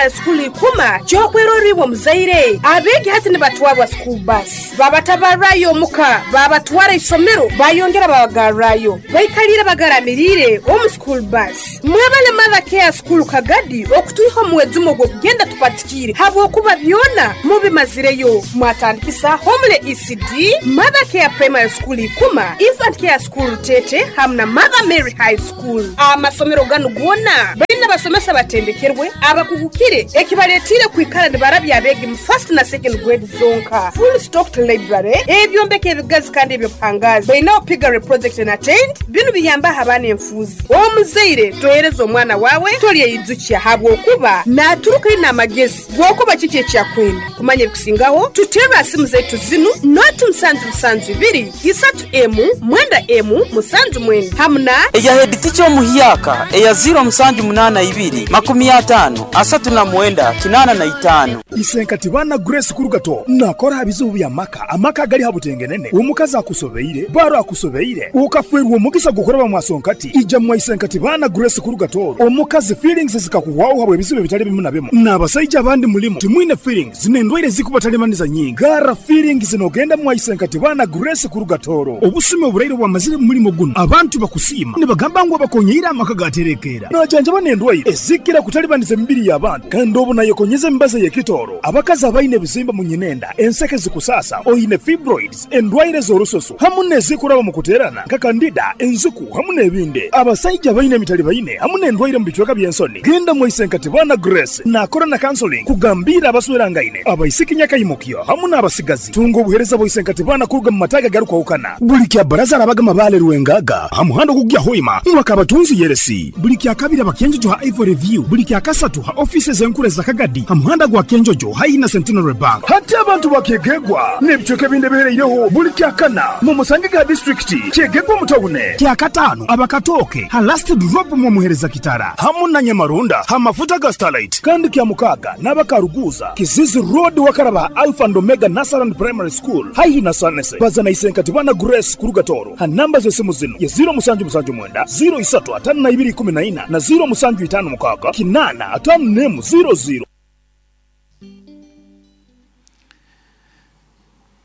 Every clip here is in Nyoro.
Primary School Ikuma ky'okwerorra iwe omuzaire. Abeegi hati nibatwarwa school bus, babatabarrayo omuka, babatwara isomero, bayongera babagarrayo. Baikaliire bagaramiriire omu school bus. Mwebale Mother Care School Kagadi okutwiha omu mwejumo gw'okugenda tupatikiire habwokuba byona mubimazireyo. Mwatandikisa Homely ECD, Mother Care Primary School Ikuma, Infant Care School Rutete hamu na Mother Mary High School. Amasomero ganu goona baine abasomesa abatendekerwe, abakugukire ekibaletiire kwikara nibarabya abeegi mu first na second grade zonka. Full stocked library, ebyombeko ebigazi kandi eby'obuhangaazi. Baineho piggery project na tent, binu biyambaho abaana enfuuzi. Omuzaire tohereza omwana waawe tolyeyijukya habwokuba naaturuka aine amagezi g'okuba kiki eki akwenda. Kumanya ebikusingaho, tuterre ha simu zaitu zinu, noti musanju musanju ibiri, isatu emu, mwenda emu, musanju mwenda hamu na. Eya heditica omuhyaka eya ziiro musanju munaana ibiri, makumi ataano, asatu na mwenda, kinaana na itaano. Isenkati baana Grace Kurugato nakora aha bizibu by'amaka, amaka agali ha butengenene, omukazi akusobeire, baro akusobeire, okafwerwa omugisa gw'okuraba mwa Sonkati, ija mwa Isenkati baana Grace Kurugato, omukazi feelings zikakuhwaho habw'ebizibu ebitali bimu na bimu, n'abasaija abandi mulimu timwine feelings n'endwaire ezikubatalibaniza nyingi, garra feelings n'ogenda mwa Isenkati baana Grace Kurugatoro. Obusumi oburaire obwamazire mu mulimo gunu, abantu bakusiima nibagamba ngu abakonyeire amaka gaterekeera. Najanjaba n'endwaire ezikira kutalibaniza emibiri y'abantu kandi obu nayekonyeza emibazi ey'ekitooro, abakazi abaine ebizimba mu nyinenda, enseke zikusaasa, oine fibroids, endwaire z'orususu hamu n'ezikuraba mu kuteerana nka kandida, enziku hamu n'ebindi. Abasaija abaine emitalibaine hamu n'endwaire mu bicweka by'ensoni, genda mwaise nka Tibana Grace naakora na counseling kugambiira abaswerangaine, abaisiki nyakaimukyo hamu n'abasigazi. Tunga obuheereza bwa Isenkatibana kuruga mu mataagi agarukwahukana. Buli kya Baraza arabaga Mabaale Rwengaga ha muhanda ogukugya Hoima mwaka Abatunzi Yeresi. Buli kya Kabiri aba Kyenjojo ha Ivory View. Buli kya Kasatu ha ofiisi ez'enkuru eza Kagadi ha muhanda gwa Kyenjojo haihi na Centenary Bank. Hati abantu ba Kyegegwa n'ebicweka ebindi ebihereireho buli kya Kana mu musange ga disiturikiti Kyegegwa omu tawune. Kya Kataano aba Katooke ha Last Drop mw'omuhereza Kitara hamu na Nyamarunda ha mafuta ga Starlight. Kandi kya Mukaaga n'aba Karuguuza, Kizizi Road wakaraba ha Alpha and Omega Nursery and Primary School haihi na Sanese. Baza na Isenkati Bana Grace kuruga Tooro ha namba z'esimu zinu ye ziiro musanju musanju mwenda, ziiro isatu ataano na ibiri ikumi na ina na ziiro musanju itaano mukaaga kinaana ataano n'emu ziiro ziiro.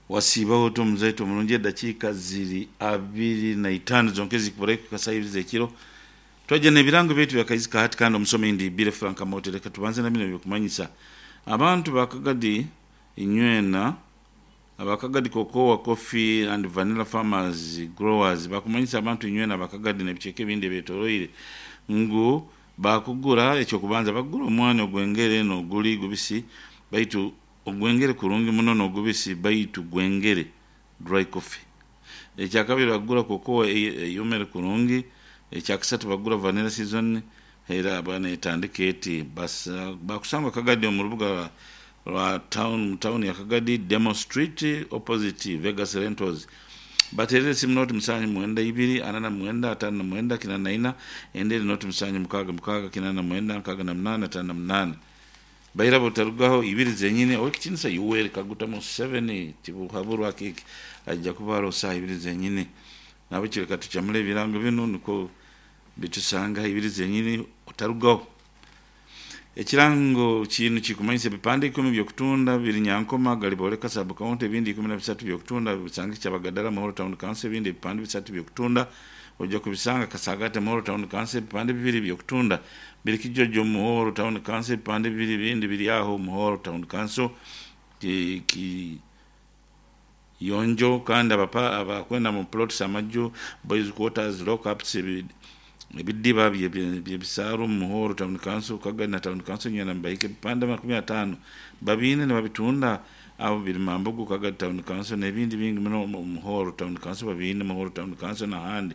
Wasiibaho ota omuzaito omurungi edakiika ziri abiri na itaano zonka ezikuburayo kuhika saaha ibiri z'ekiro. Twaija n'ebirango byaitu bya Kaizi ka hati kandi omusomi ndi Billy Frank Amooti. Leka tubanze na binu eby'okumanyisa abantu ba Kagadi inywena. Aba Kagadi Cocoa, Coffee and Vanilla Farmers Growers bakumanyisa abantu inywena aba Kagadi n'ebicweka ebindi ebyetoroire ngu baakugura eky'okubanza bakugura omwani ogw'engere n'oguli gubisi baitu Ogwengere kurungi muno n'ogubisi baitu gwengere, dry coffee. Ekyakabiri bagura cocoa eyomere kurungi. Ekyakasatu bagura vanilla season era aba netandika eti. Bakusangwa Kagadi omu rubuga rwa town mu town ya Kagadi, Demo Street opposite Vegas Rentals. Baterere esimu noti musanju mwenda ibiri ana na mwenda atano na mwenda kinana na ina endi eri noti musanju mukaaga mukaaga kinana na mwenda nkaaga na munana atano na munana. Baira butarugaho ibiri zenyini Owekitinisa Yoweri Kaguta Museveni Tibuhaburwa Akiiki aija kuba aroho saaha ibiri zenyini. Nahabwekyo leka tucamule ebirango binu nukwo bitusanga ha ibiri zenyini otarugaho. Ekirango kinu kikumanyisa ebipande ikumi by'okutunda biri Nyankoma, Galiboleka Sub County, ebindi 13 by'okutunda bisange Kyabagadara Muhoro Town Council, ebindi ebipande bisatu by'okutunda oija kubisanga Kasagate Muhoro Town Council, ebipande bibiri by'okutunda Biri Kijojo Muhoro Town Council, ebipande bibiri ebindi biri agho Muhoro Town Council, Kiyonjo kandi abakwenda mu plots amaju, boys quarters, lock ups, ebidiba by'ebisaaru mu Muhoro Town Council, Kagadi na Town Council nywena nibahika ebipande amakumi ataano babiine nibabitunda abo biri Mambugu, Kagadi Town Council n'ebindi bingi muno omu Muhoro Town Council babiine Muhoro Town Council n'ahandi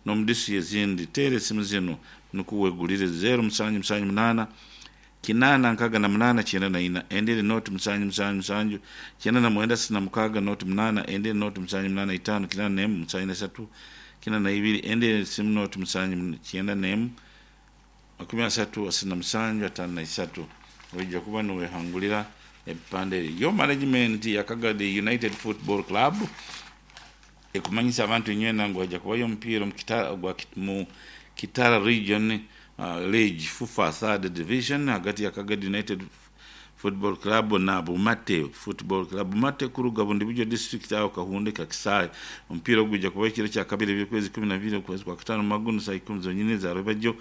n'omu disiturikiti ezindi. Teera esimu zinu nukwo wegulire, zeero musanju musanju munaana, kinaana nkaaga na munaana kyenda na ina, endi eri nooti musanju musanju musanju, kyenda na mwenda asatu na mukaaga nooti munaana, endi eri nooti musanju munaana itaano kinaana n'emu musanju na isatu kinaana na ibiri, endi eri simu nooti musanju kyenda n'emu makumi asatu asatu na musanju ataano na isatu. Oija kuba niwehangulira ebipande ebi. Yo management ya Kagadi United Football Club ekumanyisa abantu inywena ngu haija kubayo omupiira omu Kitara region. League FUFA Third Division hagati ya Kagadi United Football Club na Bumate Football Club. Bumate kuruga Bundibugyo District aho Kahunde Kakisaayi. Omupiira ogu gwija kuba ekiro kyakabiri eby'okwezi 12 okwezi kwa kataano Maguno saaha ikumi zonyini eza rwebagyo.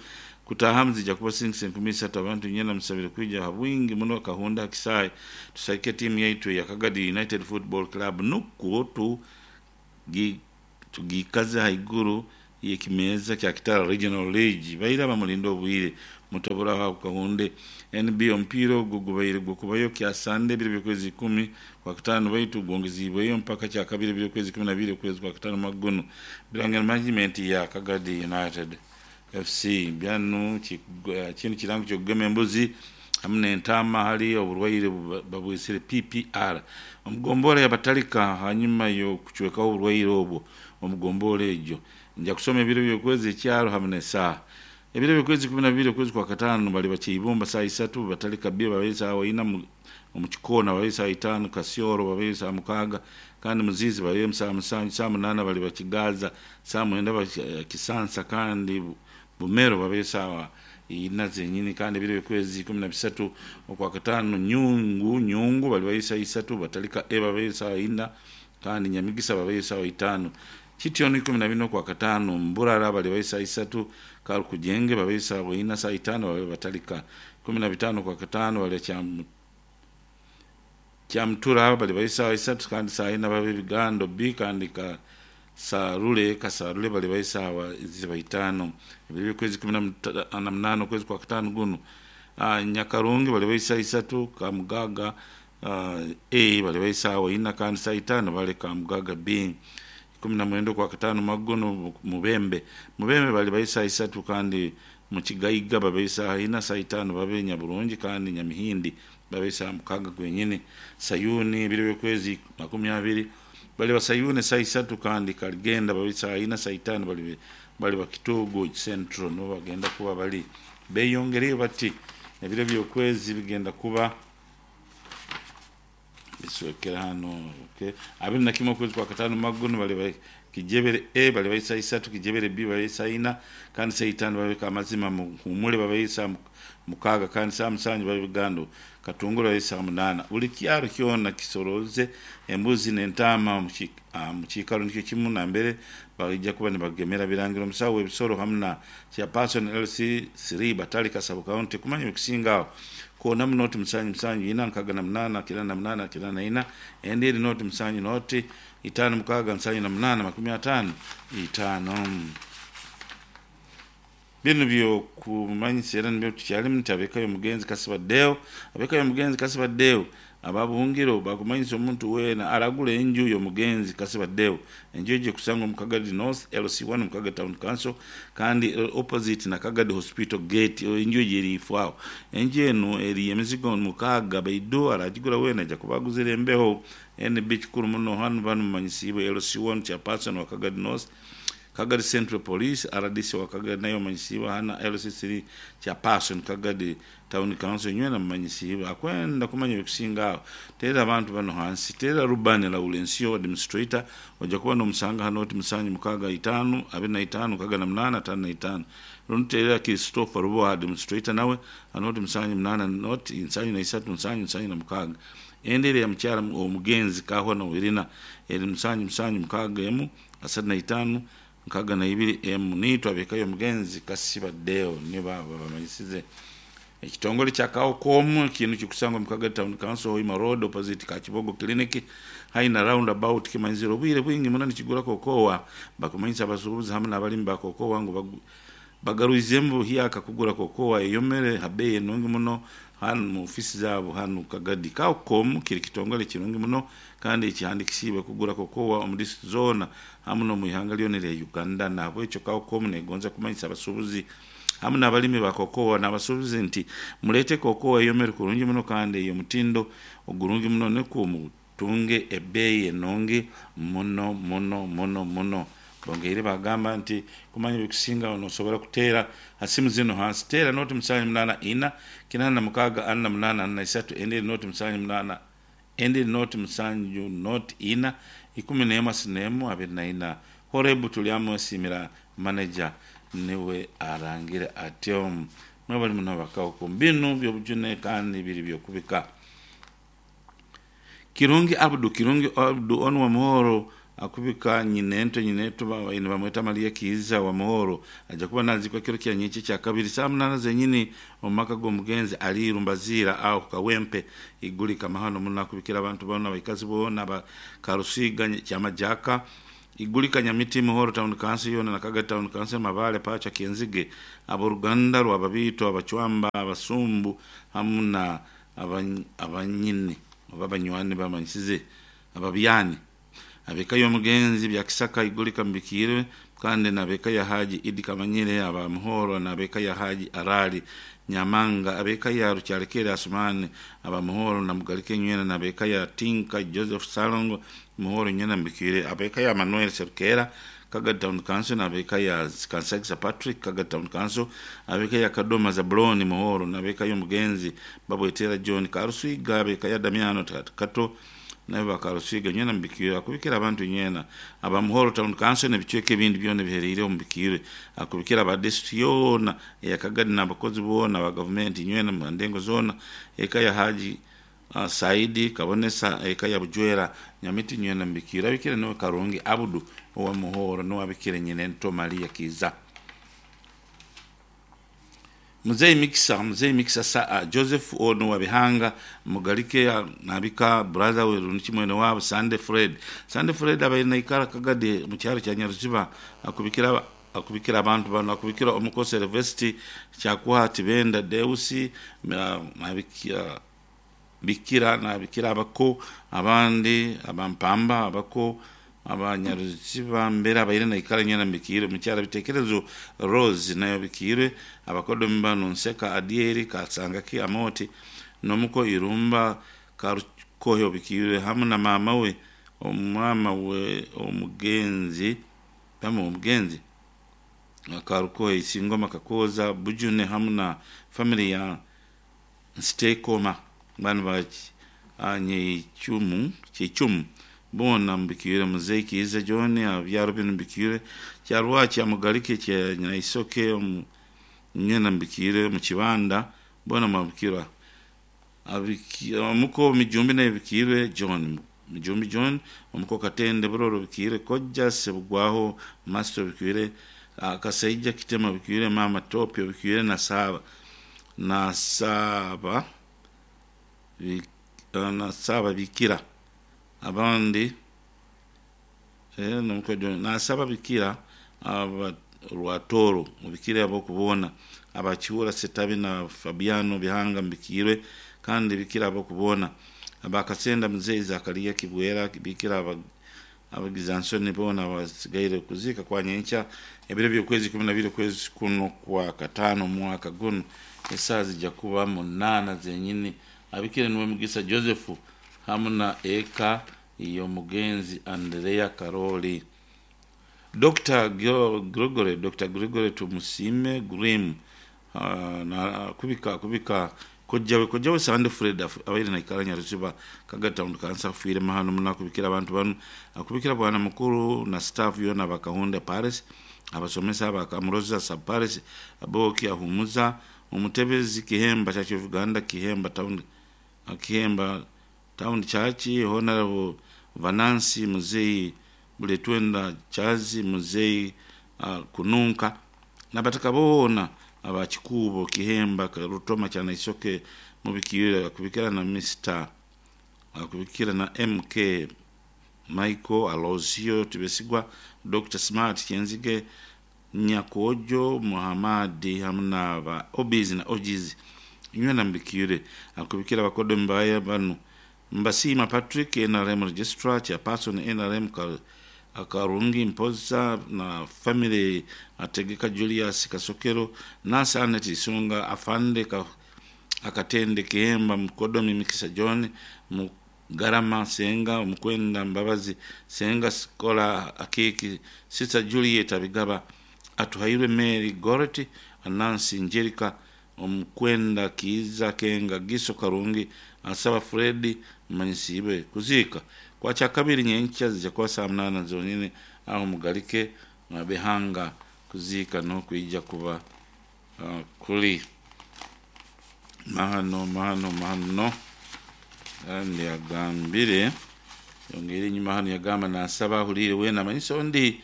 Kutaahamu zija kuba singisi 3000. Abantu nyena musabire kwija ha bwingi muno Kahunde ha kisaayi tusagike tiimu yaitu eya Kagadi United Football Club nukwo tugiikaze haiguru y'ekimeeza kya Kitara Regional League. Baire abamulinde obwire mutoburaho aho Kahunde. NB Omupiira ogu gubaire gw'okubayo kya Sande ebiro by'okwezi ikumi Kwakutaano baitu gwongeziibweyo mpaka Kyakabiri ebiro by'okwezi 12 okwezi Kwakutaano mwaka gunu. Birangira management ya Kagadi United FC byanu kinu kirango ky'okugema embuzi hamu n'entaama hali oburwaire babwesere PPR omu gombora ya Batalika hanyuma y'okucwekaho oburwaire obwo omu gombora egyo. Nja kusoma ebiro by'okwezi, ekyaro hamu n'esaaha. Ebiro by'okwezi 12 okwezi kwa kataano baliba Kyeibumba saaha isatu, Batalika B babeyo saawa ina, omu Kikoona babeyo saaha itaano, Kasioro babeyo saaha mukaaga kandi Muziizi babeyo saaha musanju, saaha munaana baliba Kigaaza, saaha mwenda Kisansa kandi Bumero babeyo saawa ina zenyini kandi ebiro by'okwezi 13 okwakataano Nyungu Nyungu balibayo saaha isatu, Batalika A babeyo saaha ina kandi Nyamigisa babeyo saawa itaano. Kityo ni 14 Okwakataano, Mburara balibayo saaha isatu, Karukujenge babeyo saawa ina, saaha itaano babe Batalika. 15 Okwakataano baliba Kyamutura balibayo saawa isatu kandi saaha ina babe Bigando B kandi Kasarule Kasarule balibayo saawa ziba itaano. Ebiro by'okwezi 18 okwezi Kwakataano gunu, Nyakarungi balibayo saaha isatu, Kamugaga A balibayo saawa ina kandi saaha itaano bale Kamugaga B. 19 Okwakataano mwaka guno Mubembe Mubembe balibayo saaha isatu kandi Mukigaiga babeyo saaha ina, saaha itaano babe Nyaburungi kandi Nyamihindi babe saaha mukaaga gwenyini. Sayuni ebiro by'okwezi 20 baliba Sayuni saaha isatu kandi Kaligenda babe saaha ina, saaha itaano baliba Kitugu Central nibo bagenda kuba bali. Beyongereyo bati ebiro by'okwezi bigenda kuba biswekera hano okay. 21 okwezi kwa kataano mwaka guno baliba Kijebere A baliba saaha isatu, Kijebere B baliba saaha ina kandi saaha itaano babe Kamazima Muhumure babe saaha mukaaga kandi saaha musanju babe Bugando Katunguru babe saaha munaana. Buli kyaro kyona kisoroze embuzi n'entaama omu kiikaro nikyo kimu nambere baija kuba nibagemera Birangira omusawo w'ebisoro hamu na Chairperson LC 3 Batalika Sub County kumanya ebikusinga aho koonamu noti musanju musanju ina nkaaga na munaana kinaana na munaana kinaana na ina endi eri noti musanju noti itaano mukaaga nsanju na munaana 55. Binu by'okumanyisa era nibyo tukyalimu nti ab'eka y'omugenzi Kasiba Deo, ab'eka y'omugenzi Kasiba Deo aba Buhungiro bakumanyisa omuntu weena aragura enju y'omugenzi Kasiba Deo. Enju egyo ekusangwa omu Kagadi North LC1 omu Kagadi Town Council kandi opposite na Kagadi Hospital Gate. Enju egyo eri ifo aho. Enju enu eri y'emizigo mukaaga baidu aragigura weena aija kuba aguzire embeho. NB Kikuru muno hanu banu mumanyisiibwe LC1 Chairperson wa Kagadi North, Kagadi Central Police, rdc wa Kagadi nayo omanyisiibwe aha na LC3 Chairperson Kagadi Town Council nywena mumanyisiibwe. Akwenda kumanya ebikusinga aho teera abantu banu hansi. Teera Rubani Laurensio Administrator oja kuba nomusanga hano oti musanju mukaaga itaanu 25 68 55 rundi teera Christopher Ruboha Administrator nawe hano oti musanju munaana noti nsanju na isatu nsanju nsanju na mukaaga. Endi eri eya mukyara omugenzi Kahwa Wirina eri musanju musanju mukaaga emu 35 62 emu. Niitwe ab'eka y'omugenzi Kasiba Deo nibo abo abamanyisize. Ekitongole kya Kaokomu kinu kikusangwa omu Kagadi Town Council Hoima Road opposite Kakibogo Clinic haihi na round about kimanyizire obwire bwingi muno nikigura kokowa. Bakumanyisa abasuubuzi hamu n'abalimi ba kokowa ngu bagaruizemu buhyaka kugura kokowa eyomere ha beeyi enungi muno hanu mu ofiisi zaabo hanu Kagadi. Kaokomu kiri kitongole kirungi muno kandi ekihandikisiibwe kugura kokowa omu district zoona hamu n'omu ihanga lyona erya Uganda. Nahabwekyo Kaokomu negonza kumanyisa abasuubuzi hamu n'abalimi ba kokowa n'abasuubuzi nti muleete kokowa eyomere kurungi muno kandi ey'omutindo ogurungi muno nukwo mutunge ebeeyi enungi muno muno muno muno. Bongeire bagamba nti kumanya ebikusingaho nosobora kuteera ha simu zinu hansi. Teera noti musanju munaana ina kinaana na mukaaga ana na munaana ana na isatu endi eri noti musanju munaana endi eri noti musanju noti ina 11 24 24. Horebu Tulyamwesimira manager. Niwe arangire atyo. Mwebale muno abakawuku. Binu by'obujune kandi biri by'okubika. Kirungi Abdu Kirungi Abdu onu wa Muhoro akubika nyinento nyineto nibamweta Maria Kiiza wa Muhoro aja kuba nazikwa kiro kya nyekyo kya kabiri saa munana zenyini omu maka g'omugenzi Aliiru Mbaziira aho Kawempe Igulika mahano muno akubikira abantu boona abaikazi boona ba Karusiga Kyamajaka Igulika Nyamiti Muhoro Town Council yoona na Kagadi Town Council Mabale Pacha Kyenzige ab'oruganda rwa Babiito Abacwamba Abasumbu hamu na abanyini oba abanywani bamanyisize ababyani ab'eka y'omugenzi Byakisaka Igulika Mbikiirwe kandi n'ab'eka ya Haji Idi Kamanyire aba Muhoro n'ab'eka ya Haji Arali Nyamanga ab'eka ya Rukyalekere Asumani aba Muhoro na Mugalike Nywena n'ab'eka ya Tinka Joseph Salongo Muhoro Nywena Mbikiire ab'eka ya Manuel Serukera Kagadi Town Council n'ab'eka ya Kansagisa Patrick Kagadi Town Council ab'eka ya Kadoma Zabuloni Muhoro n'ab'eka y'omugenzi Babwetera John Karuswiga ab'eka ya Damiano Kato nabo bakarusiga nywena mubikire akubikira abantu nywena aba Muhoro Town Council n'ebicweka ebindi byona ebihereire omu bikire akubikira aba district yoona eya Kagadi n'abakozi boona aba gavumenti nywena mu ndengo zoona eka ya Haji Saidi Kabonesa eka ya Bujwera Nyamiti nywena mubikire abikire niwe Karungi Abudu owa Muhoro niwe abikire nyinento Maria Kiza. Mzee Mikisa, Mzee Mikisa saa Joseph ono wa Bihanga Mugalike nabika brother we runiki mwene wabo Sunday Fred. Sunday Fred abaire naikara Kagadi mu kyaro kya Nyaruziba akubikira akubikira abantu bano akubikira omukosi University kyakuha Tibenda Deusi nabikira bikira nabikira abako abandi abampamba abako abanyaruziba mbere abaire naikara nyena mbikire mukyara bitekerezo Rose nayo bikire abakodomi bano Nseka Adieri Kasangaki Amoti nomuko Irumba Karukohyo bikire hamwe na mama we omwama we omugenzi pamwe omugenzi Karukohe Isingoma Kakoza Bujune hamwe na family ya Nstekoma bano baki Nyechumu Chichumu bona mbikire muzei Kiiza John abyaro bino mbikire kyarwaki amugalike kya Nyaisoke nyena mbikire mu kibanda bona mabikira omuko mijumbi naye bikire John mijumbi John omuko Katende Buroro bikire Kojja Sebugwaho Master bikire Kasaija Kitema bikire Mama Topio bikire na saba na saba na saba bikira abandi nasaba bikira aba Rwatoro mubikire abo kubona abakiwura Setabi na Fabiano Bihanga mbikirwe kandi bikira abo kubona abakasenda mzee Zakaria Kibwera bikira abagizansoni bona basigaire kuzika kwa nyencha ebiro by'okwezi 12 kwezi kuno kwa katano mwaka guno esaa zijja kuba munana zenyini abikire niwe Mugisa Joseph hamwe na eka y'omugenzi Andrea Karoli. Dr. Gregory Dr. Gregory Tumusime Grim na kubika kubika kojjawe kojjawe Sande Fred abaire naikara Nyaruziba Kagadi Town Council afiire mahano muno akubikira abantu bano akubikira bwana mukuru na staff yona bakahunda Paris abasomesa bakamuroza sub Paris aboki ahumuza omutebezi Kihemba Church of Uganda Kihemba Town Kihemba Town Church Honorable Vanansi Muzei Buletwenda Chazi Muzei Kununka nabataka boona abakikubo Kihemba Rutoma kyana Isoke mubikira akubikira na Mr akubikira na MK Michael Alozio Tibesigwa Dr. Smart Kyenzige Nyakojo Muhammad hamwe na ba Obizi na Ojizi nywena mbikire akubikira abakodo mbaya bano Mbasima Patrick NRM Registrar Chairperson NRM Akarungi Mpoza na family Ategeka Julius Kasokero Nasa Anet Isunga Afande Akatende Kihemba Mkodomi Mikisa John Mugarama Senga Mukwenda Mbabazi Senga Skola Akiki Sister Juliet Abigaba Atuhairwe Mary Goreti Anansi Njerika Omukwenda Kiiza Kenga Giso Karungi Asaba Fredi Manyisibe kuzika kwa chakabiri nyencha zijja kuba saa munana zonyine aho mugalike mabihanga Kuziika n'okwija kuba kuli mahano mahano mahano. Kandi agambire yongeire enyuma hanu yagamba nasaba ahuliire weena amanyise ondi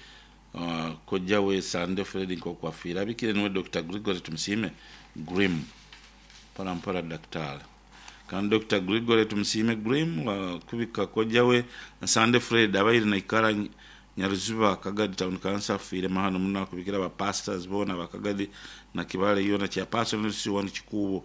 kojja we Sande Fred nk'oku afiire. Abikire niwe Dr. Gregory Tumusiime Grim. Mpora mpora daktari. Kandi Dokita Gregory Tumusiime Grim kubika kojja we Nsande Fred abaire naikara Nyaruziba Kagadi Town Council afiire mahano muno akubikira ba pastors boona ba Kagadi na Kibale yoona chairperson LC1 Kikuubo.